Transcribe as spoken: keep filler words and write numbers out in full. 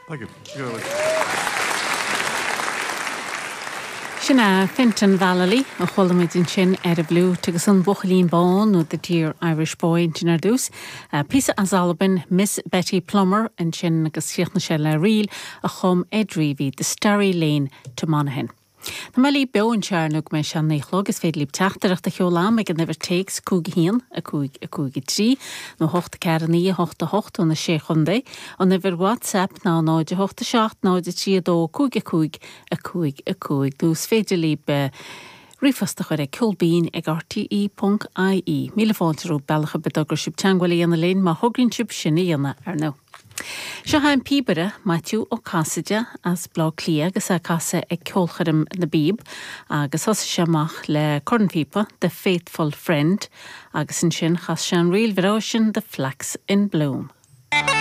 Thank you. Thank you very much. Sin é Fintan Vallely a chuala muid ansin ar an bhfliúit agus an Buachaillín Bán nó the Dear Irish Boy ansin ar dtús. Píosa as Albain Miss Betty Plummer ansin agus chríochnaigh sé le ríl a chum Ed Reavy, The Starry Lane to Monaghan. Tá mé libh beo anseo ar ndóigh go mbeidh sé naoi a chlog is féidir libh teachtaireacht a sheoladh ag an uimhir téacs cúig haon a cúig a cúig a trí nó hocht a ceathair naoi a hocht a hocht ó na sé chontae an uimhir WhatsApp ná náid a hocht a seacht náid a trí a dó cúig a cúig a cúig a cúig nó is féidir libh ríomhphost a chur ag ceolbinn ag RTE ponc IE. Míle fáilte romhaibh bealach ar bith a dtograíonn sibh teagmháil a dhéanamh linn má thograíonn sibh sin a dhéanamh ar ndóigh. Seo an píobaire Maitiú Ó Casaide as Baile Átha Cliath agus é ag casadh ag ceolchoirm na bPíob agus thosaigh sé amach le cornphíopa The Faithful Friend agus ansin chas sé an ríl bhreá sin The Flax in Bloom.